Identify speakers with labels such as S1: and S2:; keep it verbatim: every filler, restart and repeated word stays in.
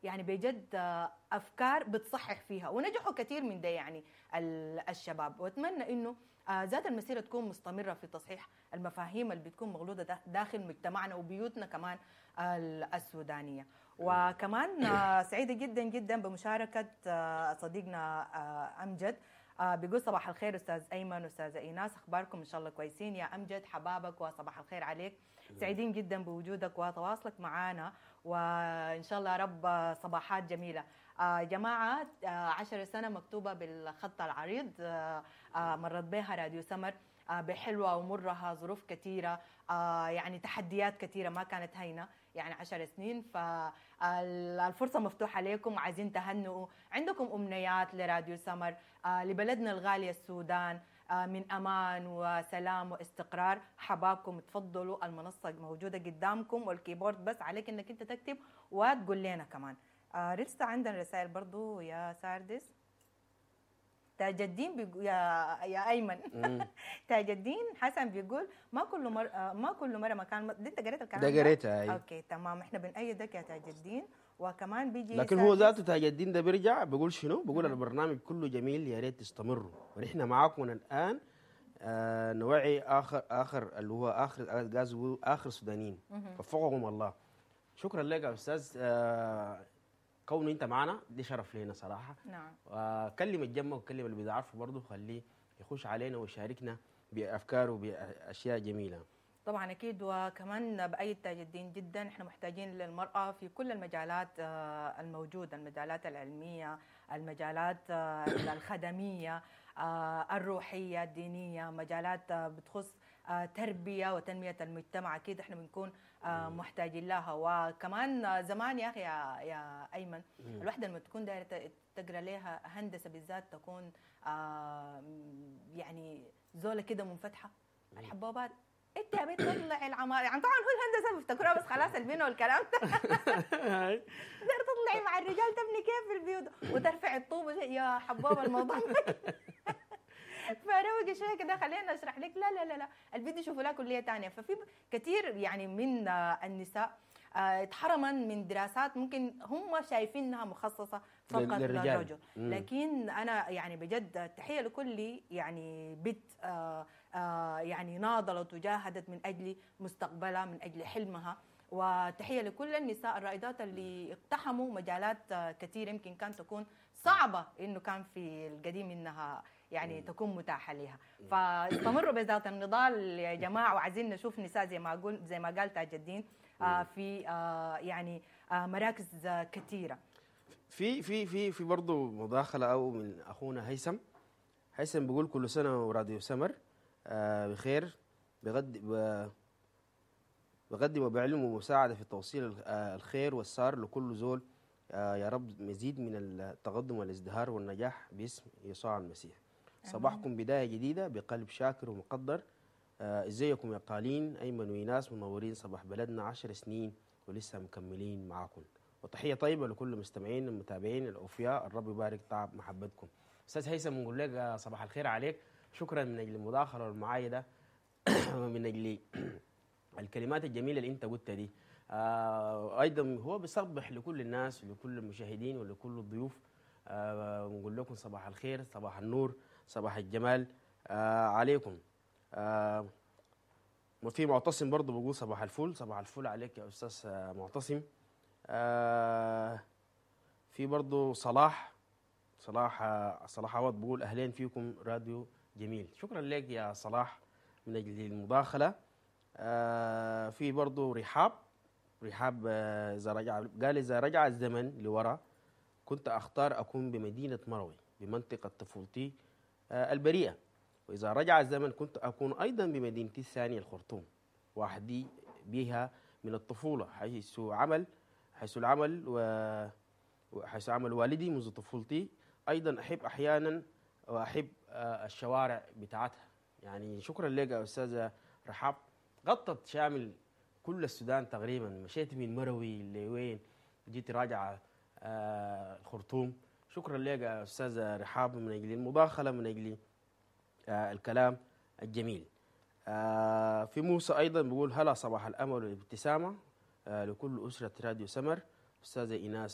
S1: يعني بجد آه، افكار بتصحح فيها، ونجحوا كثير من ده يعني ال- الشباب. واتمنى انه آه، ذات المسيرة تكون مستمرة في تصحيح المفاهيم اللي بتكون مغلوطة دا- داخل مجتمعنا وبيوتنا كمان ال- السودانية. وكمان آه، سعيدة جدا جدا بمشاركة آه، صديقنا آه، امجد، آه، بيقول صباح الخير استاذ ايمن واستاذه ايناس، اخباركم ان شاء الله كويسين. يا امجد حبابك وصباح الخير عليك، سعيدين جدا بوجودك وتواصلك معنا، وان شاء الله يا رب صباحات جميلة. آه جماعة، آه عشر سنة مكتوبة بالخط العريض، آه آه مرت بها راديو سمر آه بحلوه ومرها، ظروف كثيرة، آه يعني تحديات كثيرة ما كانت هينة، يعني عشر سنين. فالفرصه مفتوحة لكم، عايزين تهنئوا، عندكم امنيات لراديو سمر، آه لبلدنا الغالية السودان، آه من امان وسلام واستقرار، حبابكم تفضلوا، المنصة موجودة قدامكم وال keyboard بس عليك انك انت تكتب وتقول لنا كمان. آه لسه عندنا رسائل برضو يا ساردس. تاج الدين بيقول يا يا ايمن، تاج الدين حسن بيقول ما كل مر آه، ما كل مرة مكان. دي انت قريت الكلام؟
S2: ده قريتها، أي.
S1: okay تمام، احنا بنأيدك يا تاج الدين. وكمان بيجي
S2: لكن هو
S1: ساردس.
S2: ذاته تاج الدين ده بيرجع بيقول شنو؟ بيقول البرنامج كله جميل، يا ريت تستمروا، ونحن معاكم من الان آه نوعي اخر اخر اللي هو اخر غاز اخر سودانيين، وفقهم الله. شكرا لك يا استاذ، آه كونه انت معنا دي شرف لنا صراحة.
S1: نعم.
S2: وكلم الجمه وكلم اللي بيعرفه برضه، خليه يخش علينا ويشاركنا بافكاره وباشياء جميلة.
S1: طبعا اكيد، وكمان بايد تاج الدين جدا، احنا محتاجين للمراة في كل المجالات آه، الموجودة، المجالات العلمية، المجالات آه، الخدميه، آه، الروحية، الدينية، مجالات آه، بتخص آه، تربيه وتنميه المجتمع، اكيد احنا بنكون آه، محتاجين لها. وكمان آه، زمان يا اخي يا يا ايمن، الوحدة لما تكون دايرة ت- تقرا لها هندسة بالذات، تكون آه، يعني زوله كده منفتحة، الحبوبات انت يا بنت تطلعي العمارة، يعني طبعا هو الهندسة بيفتكروها بس خلاص البنى والكلام ده، داير تطلعي مع الرجال تبني كيف في البيوت وترفعي الطوب يا حبوبه، الموضوع فروقي شوية كده خلينا اشرح لك. لا لا لا لا، البنت يشوفوا لها كليه ثانية. ففي كثير يعني من آه، النساء آه، اتحرمن من دراسات ممكن هم شايفينها مخصصة فقط
S2: للرجال.
S1: للرجل.
S2: مم.
S1: لكن انا يعني بجد تحية لكل يعني بنت آه، آه، يعني ناضلت وجاهدت من اجل مستقبلها، من اجل حلمها، وتحية لكل النساء الرائدات اللي اقتحموا مجالات آه، كثيرة يمكن كانت تكون صعبة انه كان في القديم انها يعني تكون متاحة لها. فاستمروا بذات النضال يا جماعة، وعايزين نشوف نساء زي ما اقول زي ما قال تاج الدين آه، في آه، يعني آه، مراكز آه، كثيرة.
S2: في في في في برضه مداخله او من اخونا هيثم. هيثم بيقول كل سنة وراديو سمر آه بخير، بغد ب- بقدم وبعلم ومساعدة في توصيل ال- آه، الخير والسار لكل زول، آه يا رب مزيد من التقدم والازدهار والنجاح باسم يسوع المسيح. صباحكم بداية جديدة بقلب شاكر ومقدر. آه ازيكم يا قالين ايمن وإيناس، منورين صباح بلدنا، عشر سنين ولسه مكملين معاكم. وتحية طيبة لكل المستمعين المتابعين الاوفياء، الرب يبارك تعب محبتكم. استاذ هيثم بنقول لك آه، صباح الخير عليك، شكرا من اجل المداخلة والمعايده ومن اجل الكلمات الجميلة اللي انت قلتها دي. آه ايضا هو بيصبح لكل الناس ولكل المشاهدين ولكل الضيوف، آه ونقول لكم صباح الخير، صباح النور، صباح الجمال آه عليكم. آه وفي معتصم برضه بيقول صباح الفل، صباح الفل عليك يا استاذ آه، معتصم. آه في برضه صلاح صلاح آه، صلاح عوض بيقول اهلين فيكم راديو جميل. شكرا لك يا صلاح من اجل المداخلة. آه في برضه رحاب رحاب آه، اذا رجع، قال اذا رجع الزمن لورا كنت اختار اكون بمدينة مروي بمنطقة طفولتي آه البريئة، واذا رجع الزمن كنت اكون ايضا بمدينتي الثانية الخرطوم وحدي بها من الطفولة، حيث عمل حيث العمل و وحيث عمل والدي منذ طفولتي. ايضا احب احيانا واحب آه، الشوارع بتاعتها. يعني شكرا لك يا استاذه رحاب، غطت شامل كل السودان تقريبا، مشيت من مروي لوين جيت راجعه آه، الخرطوم. شكرا لك يا استاذه رحاب من اجل المداخلة، من اجل آه، الكلام الجميل. آه، في موسى ايضا بيقول هلا صباح الامل والابتسامة آه، لكل اسره راديو سمر، استاذه ايناس.